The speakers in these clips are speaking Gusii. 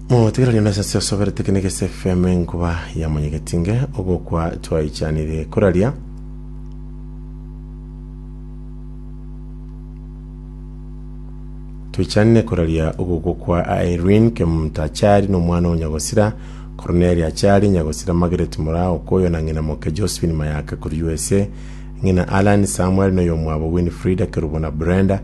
Motegereri onde ase osoberete kene gese FM enkuba ya monyegetinge ogokwa twaichanire koraria Toichanire koraria ogokwa kwa Irene Kemunto Achari na omwana o Nyagosira Cornelia Achari, Nyagosira Margaret Moraa Okoyo na ng'ina moke Josephine Mayaka korwa USA, ng'ina Allan Samuel na oyomwabo Winfrida Kerubo na Brenda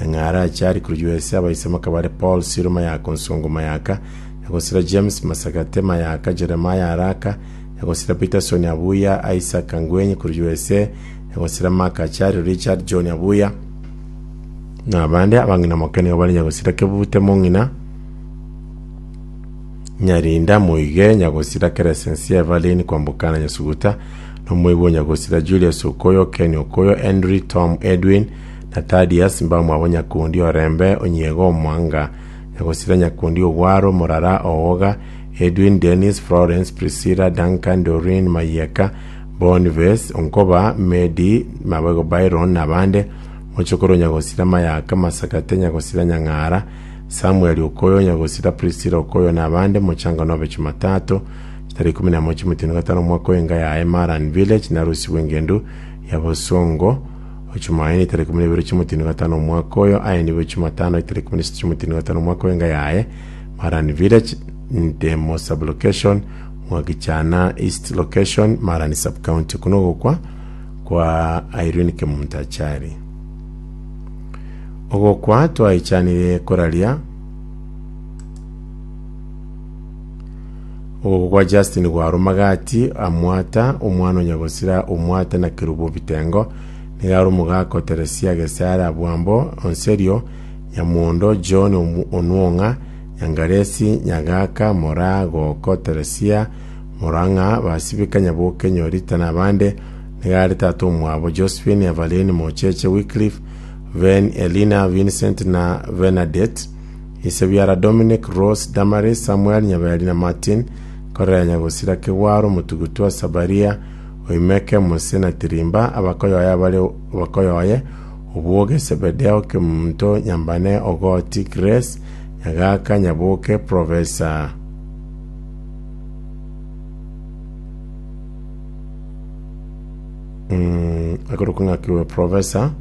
Nyang'ara Achari korwa USA, abaise makabare Paul Siro Mayaka Onsongo Mayaka, Nyagosira James Masagate Mayaka Jeremiah Araka, Nyagosira Peterson Abuya Isaac Angwenyi korwa USA, Nyagosira Mark Achari Richard John Abuya, Na abande abang'ina moke nigo bare nyagosira kebute mong'ina, Nyarinda, Moige, Nyagosira, Keresensia, Evaline, Kwamboka na Nyasuguta, na omoigwa o Nyagosira, Julius Okoyo, Ken Okoyo, Henry, Tom, Edwin, na Thaddeus, mbamwabo Nyakundi, Orembe, Onyiego, Omwanga, Nyagosira, Nyakundi, Ogwaro, Morara, Ooga, Edwin, Dennis, Florence, Priscilla, Duncan, Doreen, Mayieka, Boniface, Onkoba, Medi, Mabego Byron, na abande, Mochokoro Nyagosira Mayaka, Masakate Nyagosira Nyang'ara, Samuel Okoyo, Nyagosira Priscilla Okoyo na abande, Mochango nobe Chumatato, chitarehe ikomi na moja omotienyi o gatano omwaka oyo enga yaye Maran Village narusigwe engendu ya Bosongo Chumaine tarehe ikomi na ibere chiomotienyi o gatano omwaka oyo aye nigo Chumatano tarehe ikomi na isato chiomotienyi o gatano omwaka oyo enga yaye Maran Village Ntemo Sub-location Mwakichana East Location Maran Sub-County Oko nogokwa kwa Irene Kemunto Achari. Ogokwa twaichanire koraria ogokwa kwa Justin Gwarwa Magati Amwata omwana o Nyagosira Omwata na Kerubo Bitengo nigo are omogaka o Teresia Gesare Abwambo Onserio Nyamondo John Onwong'a Nyangaresi Nyagaka Moraa Goko Teresia Morang'a Basibika Nyaboke Nyorita na abande Nigo are tata omwabo Josephine, Evaline, Mocheche, Wycliffe, Ven, Elina, Vincent na Bernadette, ise biara Dominic, Rose, Damaris, Samuel, Nyaberi na Martin, Korea Nyagosira, Kegwaro, Motugutwa, Sabaria, Oimeke, Mose na Tirimba, abakoyoye abare abakoyoye, Obwoge, Sebedeo, Kemunto, Nyambane, Ogoti, Grace, Nyagaka, Nyaboke, Professor. Mm, akorokwa ng'aki oyo professor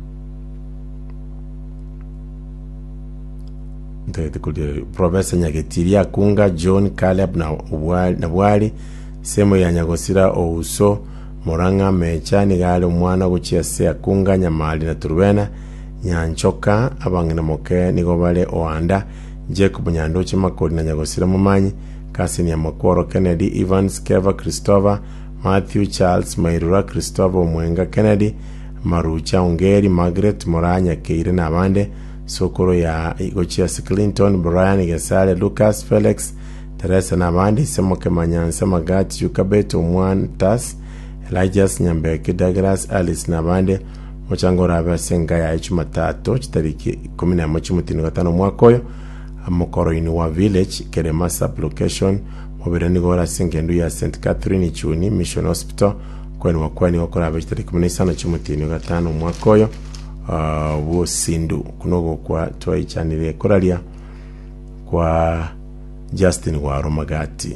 ntagete koria professor Nyagetiria Akunga John Caleb na Obwari na Bwari semo ya Nyagosira Ouso Murang'a Mecha nigo are omwana gochia ase Akunga Nyamari na Turubena Nyanchoka abang'ina moke nigo bare Oanda Jacob Nyandoche Makori na Nyagosira Momanyi Cousin ya Makworo Kennedy Evans Keva Christopher Matthew, Charles, Mairura, Christopher, Omwenga, Kennedy, Marucha, Ongeri, Margaret, Moraa, Nyakeire na abande, Sokoro ya gochia ase Clinton, Brian, Gesare, Lucas, Felix, Teresa na abande, ise moke Manyansa, Magati, Yukabet, Omwantas, Elijah, Nyambeki, Douglas, Alice na abande, Omochango orabe ase enka yaye Chumatato chitariki ikomi na emo chi'omotienyi o gatano omwaka oyo, Mokoroini wa Village, Kerema Sub-location, Mobere nigo ore ase engendu ya St. Catherine Ichuni Mission Hospital, Okwenigwa kwaye nigo korabe chitariki 15 chi'omotienyi o gatano omwaka oyo ah, bw'osindu. Okwo nogokwa twaichanire koraria kwa Justin Gwarwa Magati.